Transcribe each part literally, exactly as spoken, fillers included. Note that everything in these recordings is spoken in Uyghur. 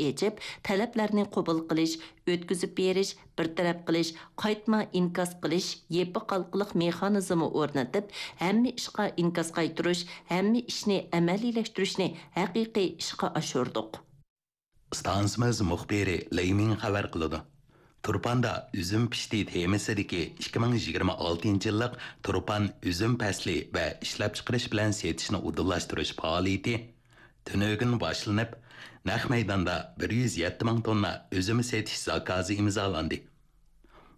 ئېچىپ، تەلەپلەرنى قوبۇل قىلىش، ئۆتكۈزۈپ بېرىش، بىر تەرەپ قىلىش، قايتما ئىنكاس قىلىش يېپىق ھالقىلىق مېخانىزمى ئورنىتىپ، ھەممە ئىشقا ئىنكاس قايتۇرۇش، ھەممە ئىشنى ئەمەلىيلەشتۈرۈشنى ھەقىقىي ئىشقا ئاشۇردۇق. ئىستانسىمىز مۇخبىرى لېي مىڭ خەۋەر قىلىدۇ. تۇرپاندا ئۈزۈم پىشتى تېمىسىدىكى ئىككى مىڭ يىگىرمە ئالتىنچى يىللىق تۇرپان ئۈزۈم پەسلى ۋە ئىشلەپچىقىرىش بىلەن سېتىشنى ئۇدۇللاشتۇرۇش پائالىيىتى تۈنۈگۈن باشلىنىپ، نەق مەيداندا بىر يۈز يەتتە مىڭ توننا ئۈزۈم سېتىش زاكازى ئىمزالاندى.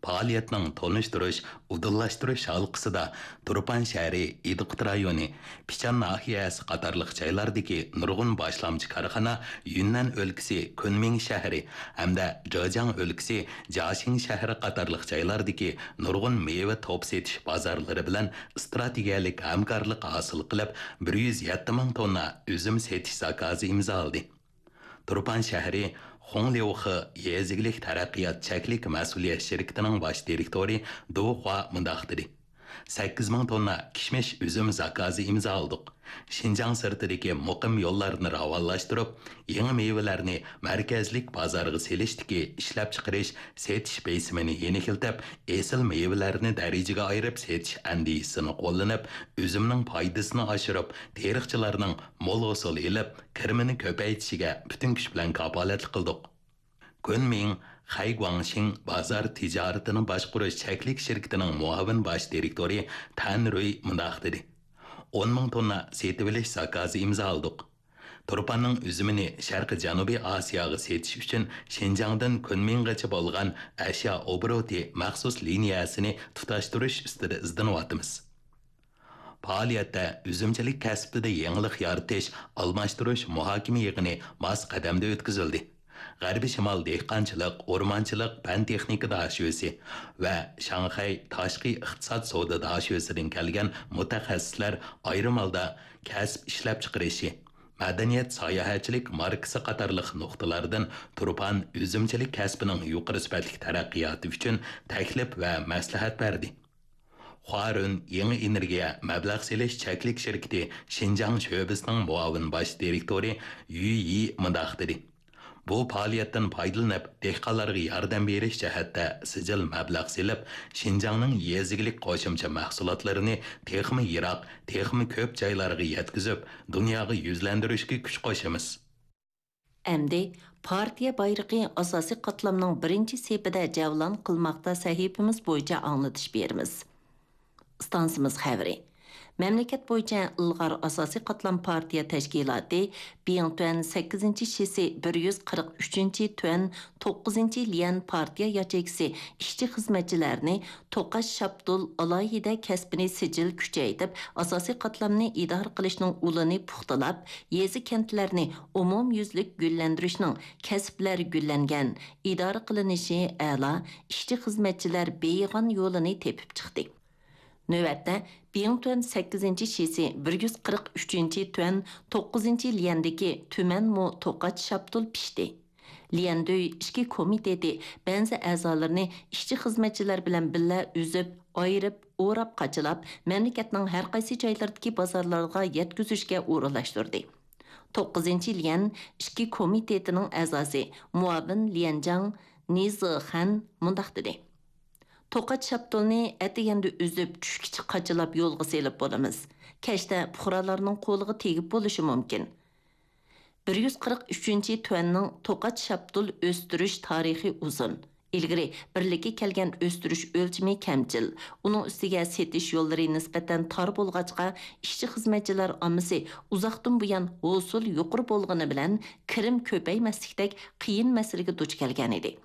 پائالىيەتنىڭ تونۇشتۇرۇش، ئۇدۇللاشتۇرۇش ھالقىسىدا تۇرپان شەھىرى، ئىدىقۇت رايونى، پىچان ناھىيەسى قاتارلىق جايلاردىكى نۇرغۇن باشلامچى كارخانا، يۈننەن ئۆلكىسى كۈنمىڭ شەھىرى ھەمدە جېجياڭ ئۆلكىسى جياڭشىڭ شەھىرى قاتارلىق جايلاردىكى نۇرغۇن مېۋە توپ سېتىش بازارلىرى بىلەن ئىستراتېگىيەلىك ھەمكارلىق ھاسىل قىلىپ، بىر يۈز يەتتە مىڭ توننا ئۈزۈم سېتىش زاكازى ئىمزالىدى. تۇرپان شەھىرى خۇڭليۇخې يېزا ئىگىلىك تەرەققىيات چەكلىك مەسئۇلىيەت شىركىتىنىڭ باش دىرېكتورى دۇ خۇا مۇنداق دېدى: سەككىز مىڭ توننا كىشمىش ئۈزۈم زاكازى ئىمزالىدۇق. شىنجاڭ سىرتىدىكى مۇقىم يوللارنى راۋانلاشتۇرۇپ، يېڭى مېۋىلەرنى مەركەزلىك بازارغا سېلىشتىكى ئىشلەپچىقىرىش، سېتىش بېسىمىنى يېنىكلىتىپ، ئېسىل مېۋىلەرنى دەرىجىگە ئايرىپ سېتىش ئەندىزىسىنى قوللىنىپ، ئۈزۈمنىڭ پايدىسىنى ئاشۇرۇپ، تېرىقچىلارنىڭ مول ھوسۇل ئېلىپ، كىرىمىنى كۆپەيتىشىگە پۈتۈن كۈچ بىلەن كاپالەتلىك قىلدۇق. كۈنمىڭ خەيگۇاڭشىڭ بازار تىجارىتىنى باشقۇرۇش چەكلىك شىركىتىنىڭ مۇئاۋىن باش دىرېكتورى تەن رۇي مۇنداق دېدى: ئون مىڭ توننا سېتىۋېلىش زاكازى ئىمزالىدۇق. تۇرپاننىڭ ئۈزۈمىنى شەرقىي جەنۇبىي ئاسىياغا سېتىش ئۈچۈن شىنجاڭدىن كۈنمىڭغىچە بولغان ئەشيا ئوبوروتى مەخسۇس لىنىيەسىنى تۇتاشتۇرۇش ئۈستىدە ئىزدىنىۋاتىمىز. پائالىيەتتە ئۈزۈمچىلىك كەسپىدە يېڭىلىق يارىتىش، ئالماشتۇرۇش مۇھاكىمە يىغىنى ماس قەدەمدە ئۆتكۈزۈلدى. غەربىي شىمال دېھقانچىلىق، ئورمانچىلىق پەن-تېخنىكا داشۆسى ۋە شاڭخەي تاشقى ئىقتىساد سودا داشۆسىدىن كەلگەن مۇتەخەسسىسلەر ئايرىم ھالدا كەسىپ ئىشلەپچىقىرىشى، مەدەنىيەت، ساياھەتچىلىك ماركىسى قاتارلىق نۇقتىلاردىن تۇرپان ئۈزۈمچىلىك كەسپىنىڭ يۇقىرى سۈپەتلىك تەرەققىياتى ئۈچۈن تەكلىپ ۋە مەسلىھەت بەردى. خۇارۈن يېڭى ئېنېرگىيە مەبلەغ سېلىش چەكلىك شىركىتى شىنجاڭ شۆبىسىنىڭ مۇئاۋىن باش دىرېكتورى يۈ يى مۇنداق دېدى: بۇ پائالىيەتتىن پايدىلىنىپ، دېھقانلارغا ياردەم بېرىش جەھەتتە سىجىل مەبلەغ سېلىپ، شىنجاڭنىڭ يېزا ئىگىلىك قوشۇمچە مەھسۇلاتلىرىنى تېخىمۇ يىراق، تېخىمۇ كۆپ جايلارغا يەتكۈزۈپ، دۇنياغا يۈزلەندۈرۈشكە كۈچ قوشىمىز. ئەمدى پارتىيە بايرىقى ئاساسىي قاتلامنىڭ بىرىنچى سېپىدە جەۋلان قىلماقتا سەھىپىمىز بويىچە ئاڭلىتىش بېرىمىز. ئىستانسىمىز خەۋىرى. مەملىكەت بويىچە ئىلغار ئاساسىي قاتلام پارتىيە تەشكىلاتى بىڭتۈەن سەككىزىنچى شىسى بىر يۈز قىرىق ئۈچىنچى تۈەن توققۇزىنچى ليەن پارتىيە ياچېيكىسى ئىشچى-خىزمەتچىلەرنى توقاچ شاپتۇل ئالاھىدە كەسپىنى سىجىل كۈچەيتىپ، ئاساسىي قاتلامنى ئىدارە قىلىشنىڭ ئۇلىنى پۇختىلاپ، يېزا-كەنتلەرنى ئومۇميۈزلۈك گۈللەندۈرۈشنىڭ كەسىپلەر گۈللەنگەن، ئىدارە قىلىنىشى ئەلا، ئىشچى-خىزمەتچىلەر بېيىغان يولىنى تېپىپ چىقتى. نۆۋەتتە، بىڭتۈەن سەككىزىنچى شىسى بىر يۈز قىرىق ئۈچىنچى تۈەن توققۇزىنچى ليەندىكى تۈمەنمۇ توقاچ شاپتۇل پىشتى. ليەندۈي ئىچكى كومىتېتى بەنزى ئەزالىرىنى ئىشچى-خىزمەتچىلەر بىلەن بىللە ئۈزۈپ، ئايرىپ، ئوراپ-قاچىلاپ، مەملىكەتنىڭ ھەر قايسى جايلىرىدىكى بازارلارغا يەتكۈزۈشكە ئورۇنلاشتۇردى. توققۇزىنچى ليەن ئىچكى كومىتېتىنىڭ ئەزاسى، مۇئاۋىن ليەنجاڭ نى زېخەن مۇنداق دېدى: توقاچ شاپتۇلنى ئەتىگەندە ئۈزۈپ، چۈشكىچە قاچىلاپ يولغا سېلىپ بولىمىز. كەچتە پۇقرالارنىڭ قولىغا تېگىپ بولۇشى مۇمكىن. بىر يۈز قىرىق ئۈچىنچى تۈەننىڭ توقاچ شاپتۇل ئۆستۈرۈش تارىخى ئۇزۇن. ئىلگىرى بىرلىككە كەلگەن ئۆستۈرۈش ئۆلچىمى كەمچىل. ئۇنىڭ ئۈستىگە سېتىش يوللىرى نىسبەتەن تار بولغاچقا، ئىشچى-خىزمەتچىلەر ئاممىسى ئۇزاقتىن بۇيان ھوسۇل يۇقىرى بولغىنى بىلەن كىرىم كۆپەيمەسلىكتەك قىيىن مەسىلىگە دۇچ كەلگەنىدى.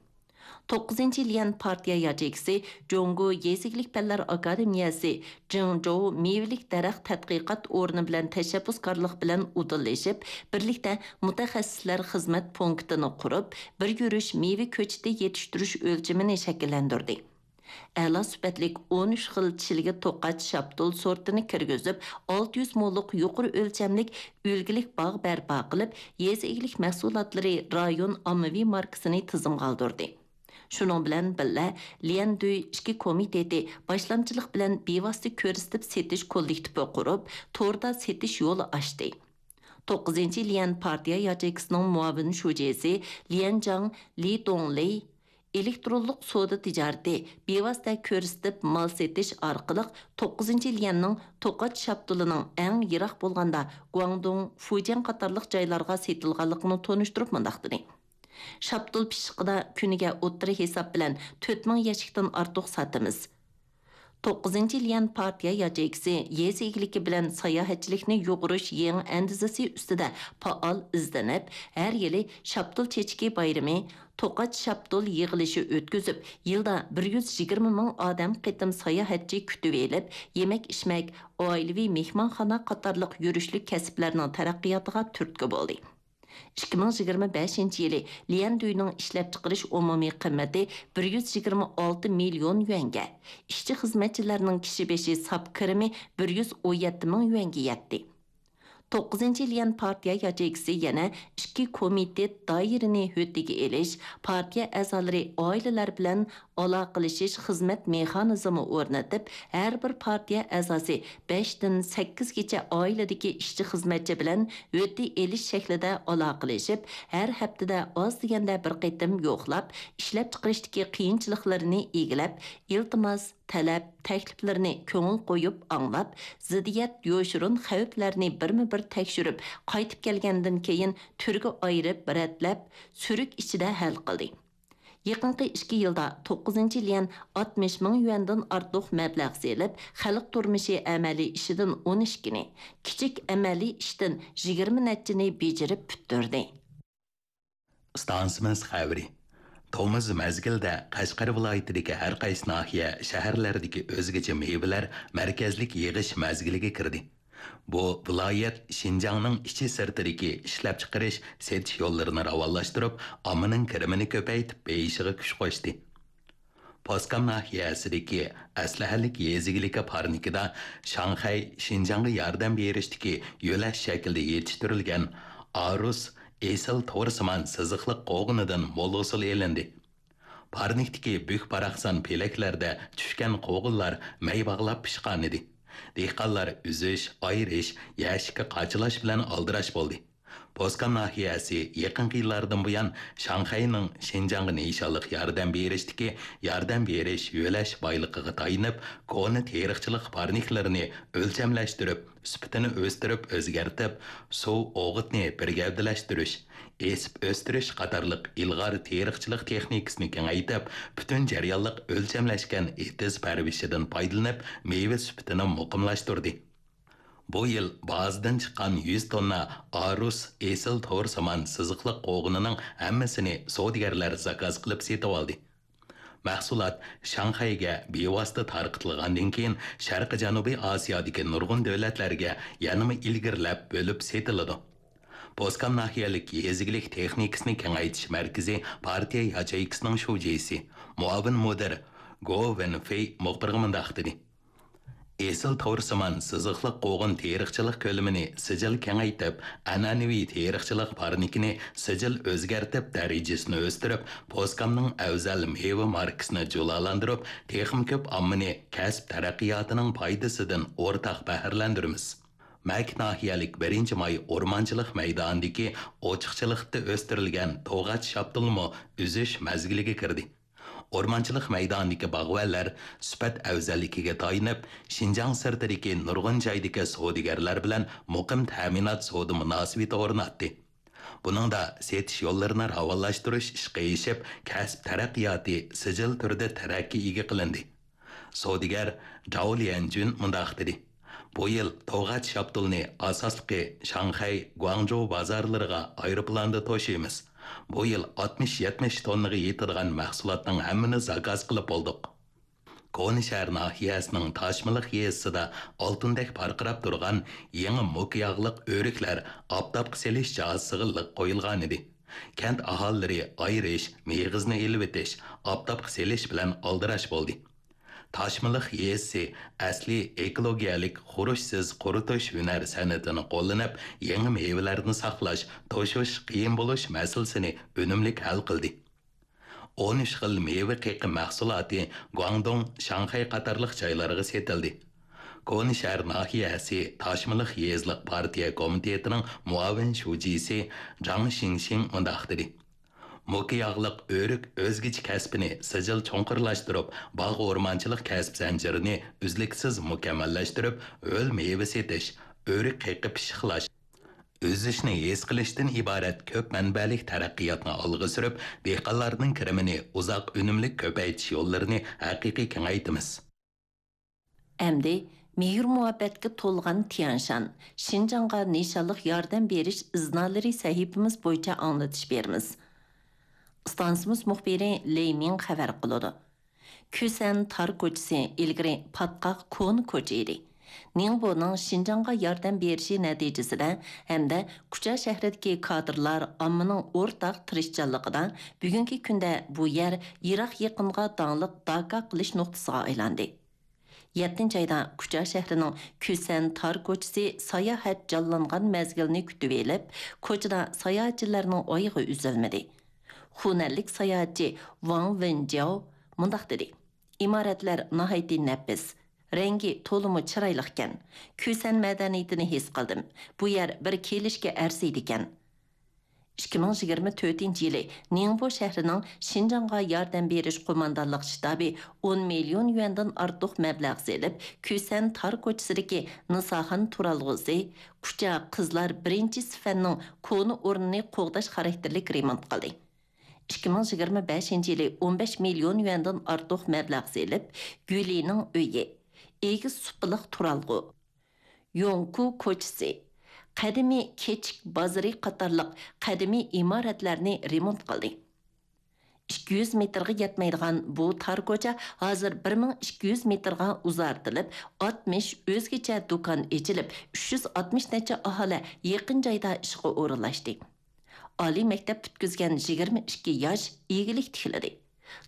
توققۇزىنچى ليەن پارتىيە ياچېيكىسى جۇڭگو يېزا ئىگىلىك پەنلەر ئاكادېمىيەسى جىڭجوۋ مېۋىلىك دەرەخ تەتقىقات ئورنى بىلەن تەشەببۇسكارلىق بىلەن ئۇدۇللىشىپ، بىرلىكتە مۇتەخەسسىسلەر خىزمەت پونكىتىنى قۇرۇپ، بىر يۈرۈش مېۋە كۆچىتى يېتىشتۈرۈش ئۆلچىمىنى شەكىللەندۈردى. ئەلا سۈپەتلىك ئون ئۈچ خىل چىلگە توقاچ شاپتۇل سورتىنى كىرگۈزۈپ، ئالتە يۈز موللۇق يۇقىرى ئۆلچەملىك ئۈلگىلىك باغ بەرپا قىلىپ، يېزا ئىگىلىك مەھسۇلاتلىرى رايون ئاممىۋى ماركىسىنى تىزىمغا ئالدۇردى. شۇنىڭ بىلەن بىللە، ليەندۈي ئىچكى كومىتېتى باشلامچىلىق بىلەن بىۋاسىتە كۆرسىتىپ سېتىش كوللېكتىپى قۇرۇپ، توردا سېتىش يولى ئاچتى. توققۇزىنچى ليەن پارتىيە ياچېيكىسىنىڭ مۇئاۋىن شۇجىسى ليەنجاڭ لى دۇڭلېي ئېلېكترونلۇق سودا تىجارىتى، بىۋاسىتە كۆرسىتىپ مال سېتىش ئارقىلىق توققۇزىنچى ليەننىڭ توقاچ شاپتۇلىنىڭ ئەڭ يىراق بولغاندا گۇاڭدۇڭ، فۇجيەن قاتارلىق جايلارغا سېتىلغانلىقىنى تونۇشتۇرۇپ مۇنداق دېدى: شاپتۇل پىششىقىدا كۈنىگە ئوتتۇرا ھېساب بىلەن تۆت مىڭ يەشىكتىن ئارتۇق ساتىمىز. توققۇزىنچى ليەن پارتىيە ياچېيكىسى يېزا ئىگىلىكى بىلەن ساياھەتچىلىكنى يۇغۇرۇش يېڭى ئەندىزىسى ئۈستىدە پائال ئىزدىنىپ، ھەر يىلى شاپتۇل چېچىكى بايرىمى، توقاچ شاپتۇل يىغىلىشى ئۆتكۈزۈپ، يىلدا بىر يۈز يىگىرمە مىڭ ئادەم قېتىم ساياھەتچى كۈتۈۋېلىپ، يېمەك-ئىچمەك، ئائىلىۋى مېھمانخانا قاتارلىق يۈرۈشلۈك كەسىپلەرنىڭ تەرەققىياتىغا تۈرتكە بولدى. ئىككى مىڭ يىگىرمە بەشىنچى يىلى ليەندۈينىڭ ئىشلەپچىقىرىش ئومۇمىي قىممىتى بىر يۈز يىگىرمە ئالتە مىليون يۈەنگە، ئىشچى-خىزمەتچىلەرنىڭ كىشى بېشى ساپ كىرىمى بىر يۈز ئون يەتتە مىڭ يۈەنگە يەتتى. توققۇزىنچى ليەن پارتىيە ياچېيكىسى يەنە ئىككى كومىتېت دائىرىنى ھۆددىگە ئېلىش، پارتىيە ئەزالىرى ئائىلىلەر بىلەن ئالاقىلىشىش خىزمەت مېخانىزمى ئورنىتىپ، ھەر بىر پارتىيە ئەزاسى بەشتىن سەككىزگىچە ئائىلىدىكى ئىشچى-خىزمەتچى بىلەن ھۆددە ئېلىش شەكلىدە ئالاقىلىشىپ، ھەر ھەپتىدە ئاز دېگەندە بىر قېتىم يوقلاپ، ئىشلەپچىقىرىشتىكى قىيىنچىلىقلىرىنى ئىگىلەپ، ئىلتىماس، تەلەپ، تەكلىپلىرىنى كۆڭۈل قويۇپ ئاڭلاپ، زىددىيەت، يوشۇرۇن خەۋپلەرنى بىرمۇبىر تەكشۈرۈپ، قايتىپ كەلگەندىن كېيىن تۈرگە ئايرىپ، رەتلەپ، سۈرۈك ئىچىدە ھەل قىلدى. يېقىنقى ئىككى يىلدا توققۇزىنچى ليەن ئاتمىش مىڭ يۈەندىن ئارتۇق مەبلەغ سېلىپ، خەلق تۇرمۇشى ئەمەلىي ئىشىدىن ئون ئىككىنى، كىچىك ئەمەلىي ئىشتىن يىگىرمە نەچچىنى بېجىرىپ پۈتتۈردى. ئىستانسىمىز خەۋىرى. تومۇز مەزگىلدە قەشقەر ۋىلايىتىدىكى ھەر قايسى ناھىيە، شەھەرلەردىكى ئۆزگىچە مېۋىلەر مەركەزلىك يىغىش مەزگىلىگە كىردى. بۇ ۋىلايەت شىنجاڭنىڭ ئىچى سىرتىدىكى ئىشلەپچىقىرىش، سېتىش يوللىرىنى راۋانلاشتۇرۇپ، ئاممىنىڭ كىرىمىنى كۆپەيتىپ بېيىشىغا كۈچ قوشتى. پوسكام ناھىيەسىدىكى ئەسلىھەلىك يېزا ئىگىلىكى پارنىكىدا شاڭخەي شىنجاڭغا ياردەم بېرىشتىكى يۆلەش شەكلىدە يېتىشتۈرۈلگەن ئارۇس ئېسىل تورسىمان سىزىقلىق قوغۇنىدىن مول ھوسۇل ئېلىندى. پارنىكتىكى بۈك-باراقسان پېلەكلەردە چۈشكەن قوغۇنلار مەي باغلاپ پىشقانىدى. دېھقانلار ئۈزۈش، ئايرىش، يەشىككە قاچىلاش بىلەن ئالدىراش بولدى. پوسكام ناھىيەسى يېقىنقى يىللاردىن بۇيان شاڭخەينىڭ شىنجاڭغا نىشانلىق ياردەم بېرىشتىكى ياردەم بېرىش، يۆلەش بايلىقىغا تايىنىپ، كونا تېرىقچىلىق پارنىكلىرىنى ئۆلچەملەشتۈرۈپ، سۈپىتىنى ئۆستۈرۈپ ئۆزگەرتىپ، سۇ، ئوغۇتنى بىر گەۋدىلەشتۈرۈش، ئېسىپ ئۆستۈرۈش قاتارلىق ئىلغار تېرىقچىلىق تېخنىكىسىنى كېڭەيتىپ، پۈتۈن جەريانلىق ئۆلچەملەشكەن ئېتىز پەرۋىشىدىن پايدىلىنىپ، مېۋە سۈپىتىنى مۇقىملاشتۇردى. بۇ يىل بازىدىن چىققان يۈز توننا ئارۇس ئېسىل تورسىمان سىزىقلىق قوغۇنىنىڭ ھەممىسىنى سودىگەرلەر زاكاز قىلىپ سېتىۋالدى. مەھسۇلات شاڭخەيگە بىۋاسىتە تارقىتىلغاندىن كېيىن، شەرقىي جەنۇبىي ئاسىيادىكى نۇرغۇن دۆلەتلەرگە يەنىمۇ ئىلگىرىلەپ بۆلۈپ سېتىلىدۇ. پوسكام ناھىيەلىك يېزا ئىگىلىك تېخنىكىسىنى كېڭەيتىش مەركىزى پارتىيە ياچېيكىسىنىڭ شۇجىسى، مۇئاۋىن مۇدىر گو ۋېنفېي مۇخبىرغا مۇنداق دېدى: ئېسىل تورسىمان سىزىقلىق قوغۇن تېرىقچىلىق كۆلىمىنى سىجىل كېڭەيتىپ، ئەنئەنىۋى تېرىقچىلىق پارنىكىنى سىجىل ئۆزگەرتىپ، دەرىجىسىنى ئۆستۈرۈپ، پوسكامنىڭ ئەۋزەل مېۋە ماركىسىنى جۇلالاندۇرۇپ، تېخىمۇ كۆپ ئاممىنى كەسىپ تەرەققىياتىنىڭ پايدىسىدىن ئورتاق بەھرىلەندۈرىمىز. مەكىت ناھىيەلىك بىرىنچى ماي ئورمانچىلىق مەيدانىدىكى ئوچۇقچىلىقتا ئۆستۈرۈلگەن توغاچ شاپتۇلمۇ ئۈزۈش مەزگىلىگە كىردى. ئورمانچىلىق مەيدانىدىكى باغۋەنلەر سۈپەت ئەۋزەللىكىگە تايىنىپ، شىنجاڭ سىرتىدىكى نۇرغۇن جايدىكى سودىگەرلەر بىلەن مۇقىم تەمىنات سودا مۇناسىۋىتى ئورناتتى. بۇنىڭدا سېتىش يوللىرىنى راۋانلاشتۇرۇش ئىشقا ئېشىپ، كەسىپ تەرەققىياتى سىجىل تۈردە تەرەققىي ئىگە قىلىندى. سودىگەر جاۋ ليەنجۈن مۇنداق دېدى: بۇ يىل توغاچ شاپتۇلنى ئاساسلىقى شاڭخەي، گۇاڭجۇ بازارلىرىغا ئايروپىلاندا توشۇيمىز. بۇ يىل ئاتمىش يەتمىش توننىغا يېتىدىغان مەھسۇلاتنىڭ ھەممىنى زاكاز قىلىپ بولدۇق. كونا شەھەر ناھىيەسىنىڭ تاشمىلىق يېزىسىدا ئالتۇندەك پارقىراپ تۇرغان يېڭى موكا ياغلىق ئۆرۈكلەر ئاپتاپقا سېلىش جاھازىسىغا لىق قويۇلغانىدى. كەنت ئاھالىلىرى ئايرىش، مېغىزنى ئېلىۋېتىش، ئاپتاپقا سېلىش بىلەن ئالدىراش بولدى. تاشمىلىق يېزىسى ئەسلىي ئېكولوگىيەلىك خۇرۇچسىز قۇرۇتۇش ھۈنەر سەنئىتىنى قوللىنىپ، يېڭى مېۋىلەرنى ساقلاش، توشۇش قىيىن بولۇش مەسىلىسىنى ئۈنۈملۈك ھەل قىلدى. ئون ئۈچ خىل مېۋە قېقى مەھسۇلاتى گۇاڭدۇڭ، شاڭخەي قاتارلىق جايلارغا سېتىلدى. كونا شەھەر ناھىيەسى تاشمىلىق يېزىلىق پارتىيە كومىتېتىنىڭ مۇئاۋىن شۇجىسى جاڭ شىڭشىڭ مۇنداق دېدى: موكا ياغلىق ئۆرۈك ئۆزگىچە كەسپىنى سىجىل چوڭقۇرلاشتۇرۇپ، باغ ئورمانچىلىق كەسىپ زەنجىرىنى ئۈزلۈكسىز مۇكەممەللەشتۈرۈپ، ھۆل مېۋە سېتىش، ئۆرۈك قېقىپ پىششىقلاش، ئۈزۈشنى ھېس قىلىشتىن ئىبارەت كۆپ مەنبەلىك تەرەققىياتنى ئالغا سۈرۈپ، دېھقانلارنىڭ كىرىمىنى ئۇزاق ئۈنۈملۈك كۆپەيتىش يوللىرىنى ھەقىقىي كېڭەيتىمىز. ئەمدى مېھىر-مۇھەببەتكە تولغان تيەنشان، شىنجاڭغا نىشانلىق ياردەم بېرىش ئىزنالىرى سەھىپىمىز بويىچە ئاڭلىتىش بېرىمىز. ئىستانسىمىز مۇخبىرى لېي مىڭ خەۋەر قىلىدۇ. كۈسەن تار كوچىسى ئىلگىرى پاتقاق كونا كوچا ئىدى. نىڭبونىڭ شىنجاڭغا ياردەم بېرىشى نەتىجىسىدە ھەمدە كۇچا شەھىرىدىكى كادىرلار ئاممىنىڭ ئورتاق تىرىشچانلىقىدا بۈگۈنكى كۈندە بۇ يەر يىراق يېقىنغا داڭلىق داكا قىلىش نۇقتىسىغا ئايلاندى. يەتتىنچى ئايدا كۇچا شەھىرىنىڭ كۈسەن تار كوچىسى ساياھەت جانلانغان مەزگىلنى كۈتۈۋېلىپ، كوچىدا ساياھەتچىلەرنىڭ ئايىغى ئۈزۈلمىدى. خۇنەنلىك ساياھەتچى ۋاڭ ۋېنجياۋ مۇنداق دېدى: ئىمارەتلەر ناھايىتى نەپىس، رەڭگى تولىمۇ چىرايلىقكەن. كۈسەن مەدەنىيىتىنى ھېس قىلدىم. بۇ يەر بىر كېلىشكە ئەرزىيدىكەن. ئىككى مىڭ يىگىرمە تۆتىنچى يىلى نىڭبو شەھىرىنىڭ شىنجاڭغا ياردەم بېرىش قوماندانلىق شتابى ئون مىليون يۈەندىن ئارتۇق مەبلەغ سېلىپ، كۈسەن تار كوچىسىدىكى نىساخان تۇرالغۇسى، كۇچا قىزلار بىرىنچى سىفەننىڭ كونا ئورنىنى قوغداش خاراكتېرلىك رېمونت قىلدى. ئىككى مىڭ يىگىرمە بەشىنچى يىلى ئون بەش مىليون يۈەندىن ئارتۇق مەبلەغ سېلىپ، گۈلىنىڭ ئۆيى، ئېگىز سۇپىلىق تۇرالغۇ، يوڭكۇ كوچىسى، قەدىمىي كېچىك بازىرى قاتارلىق قەدىمىي ئىمارەتلەرنى رېمونت قىلدى. ئىككى يۈز مېتىرغا يەتمەيدىغان بۇ تار كوچا ھازىر بىر مىڭ ئىككى يۈز مېتىرغا ئۇزارتىلىپ، ئاتمىش ئۆزگىچە دۇكان ئېچىلىپ، ئۈچ يۈز ئاتمىش نەچچە ئاھالە يېقىن جايدا ئىشقا ئورۇنلاشتى. ئالىي مەكتەپ پۈتكۈزگەن يىگىرمە ئىككى ياش ئىگىلىك تىكلىدى.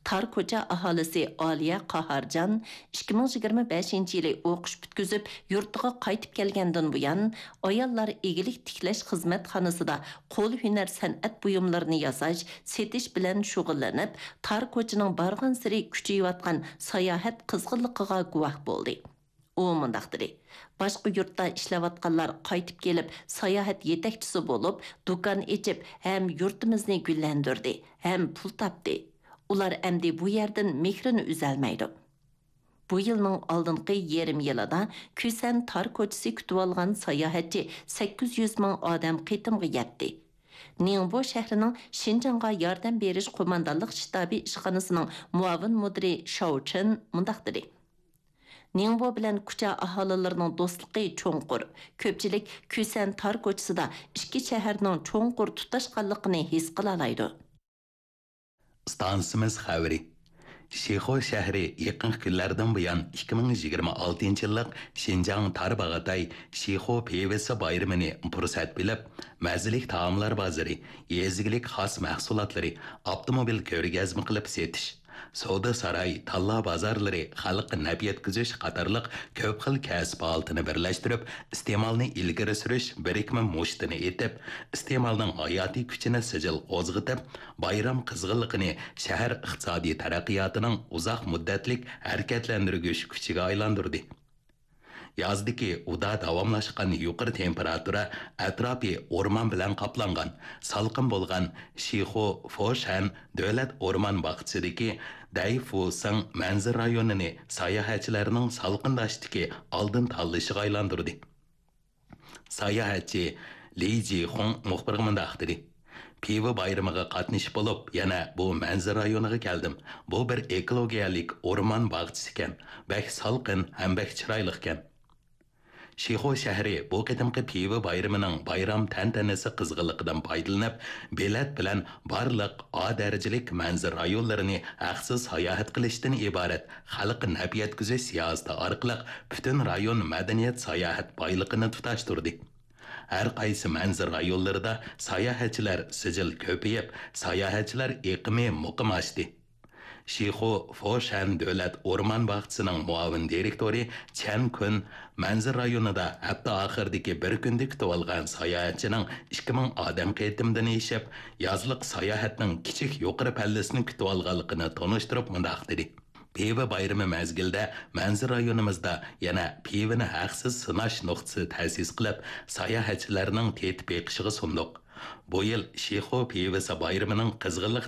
تار كوچا ئاھالىسى ئالىيە قاھارجان ئىككى مىڭ يىگىرمە بەشىنچى يىلى ئوقۇش پۈتكۈزۈپ، يۇرتىغا قايتىپ كەلگەندىن بۇيان، ئاياللار ئىگىلىك تىكلەش خىزمەتخانىسىدا قول ھۈنەر سەنئەت بۇيۇملىرىنى ياساش، سېتىش بىلەن شۇغۇللىنىپ، تار كوچىنىڭ بارغانسېرى كۈچىيىۋاتقان ساياھەت قىزغىنلىقىغا گۇۋاھ بولدى. ئۇ مۇنداق دېدى: باشقا يۇرتتا ئىشلەۋاتقانلار قايتىپ كېلىپ، ساياھەت يېتەكچىسى بولۇپ، دۇكان ئېچىپ، ھەم يۇرتىمىزنى گۈللەندۈردى، ھەم پۇل تاپتى. ئۇلار ئەمدى بۇ يەردىن مېھرىنى ئۈزەلمەيدۇ. بۇ يىلنىڭ ئالدىنقى يېرىم يىلىدا كۈسەن تار كوچىسى كۈتۈۋالغان ساياھەتچى سەككىز يۈز مىڭ ئادەم قېتىمغا يەتتى. نىڭبو شەھىرىنىڭ شىنجاڭغا ياردەم بېرىش قوماندانلىق شتابى ئىشخانىسىنىڭ مۇئاۋىن مۇدىرى شاۋ چېن مۇنداق دېدى: نىڭبو بىلەن كۇچا ئاھالىلىرىنىڭ دوستلۇقى چوڭقۇر. كۆپچىلىك كۈسەن تار كوچىسىدا ئىككى شەھەرنىڭ چوڭقۇر تۇتاشقانلىقىنى ھېس قىلالايدۇ. ئىستانسىمىز خەۋىرى. شىخۇ شەھىرى يېقىنقى كۈنلەردىن بۇيان ئىككى مىڭ يىگىرمە ئالتىنچى يىللىق شىنجاڭ تارباغاتاي شىخۇ پىۋىسى بايرىمىنى پۇرسەت بىلىپ، مەززىلىك تائاملار بازىرى، يېزا ئىگىلىك خاس مەھسۇلاتلىرى، ئاپتوموبىل كۆرگەزمە قىلىپ سېتىش، سودا ساراي، تاللا بازارلىرى، خەلققە نەپ يەتكۈزۈش قاتارلىق كۆپ خىل كەسىپ ھالىتىنى بىرلەشتۈرۈپ، ئىستېمالنى ئىلگىرى سۈرۈش بىرىكمە مۇشتىنى ئېتىپ، ئىستېمالنىڭ ھاياتىي كۈچىنى سىجىل قوزغىتىپ، بايرام قىزغىنلىقىنى شەھەر ئىقتىسادىي تەرەققىياتىنىڭ ئۇزاق مۇددەتلىك ھەرىكەتلەندۈرگۈچ كۈچىگە ئايلاندۇردى. يازدىكى ئۇدا داۋاملاشقان يۇقىرى تېمپېراتۇرا، ئەتراپى ئورمان بىلەن قاپلانغان، سالقىن بولغان شىخۇ فوشەن دۆلەت ئورمان باغچىسىدىكى دەيفۇسىڭ مەنزىرە رايونىنى ساياھەتچىلەرنىڭ سالقىنداشتىكى ئالدىن تاللىشىغا ئايلاندۇردى. ساياھەتچى لى جىخۇڭ مۇخبىرغا مۇنداق دېدى: پىۋا بايرىمىغا قاتنىشىپ بولۇپ، يەنە بۇ مەنزىرە رايونىغا كەلدىم. بۇ بىر ئېكولوگىيەلىك ئورمان باغچىسىكەن. بەك سالقىن ھەم بەك چىرايلىقكەن. شىخۇ شەھىرى بۇ قېتىمقى پىۋا بايرىمىنىڭ بايرام تەنتەنىسى قىزغىنلىقىدىن پايدىلىنىپ، بېلەت بىلەن بارلىق ئا دەرىجىلىك مەنزىرە رايونلىرىنى ھەقسىز ساياھەت قىلىشتىن ئىبارەت خەلققە نەپ يەتكۈزۈش سىياسىتى ئارقىلىق پۈتۈن رايون مەدەنىيەت ساياھەت بايلىقىنى تۇتاشتۇردى. ھەر قايسى مەنزىرە رايونلىرىدا ساياھەتچىلەر سىجىل كۆپىيىپ، ساياھەتچىلەر ئېقىمى مۇقىم ئاشتى. شىخۇ فوشەن دۆلەت ئورمان باغچىسىنىڭ مۇئاۋىن دىرېكتورى چەن كۈن مەنزىرە رايونىدا ھەپتە ئاخىرىدىكى بىر كۈندە كۈتۈۋالغان ساياھەتچىنىڭ ئىككى مىڭ ئادەم قېتىمدىن ئېشىپ، يازلىق ساياھەتنىڭ كىچىك يۇقىرى پەللىسىنى كۈتۈۋالغانلىقىنى تونۇشتۇرۇپ مۇنداق دېدى: پىۋا بايرىمى مەزگىلىدە مەنزىرە رايونىمىزدا يەنە پىۋىنى ھەقسىز سىناش نۇقتىسى تەسىس قىلىپ، ساياھەتچىلەرنىڭ تېتىپ بېقىشىغا سۇندۇق. بۇ يىل شىخۇ پىۋىسى بايرىمىنىڭ قىزغىنلىق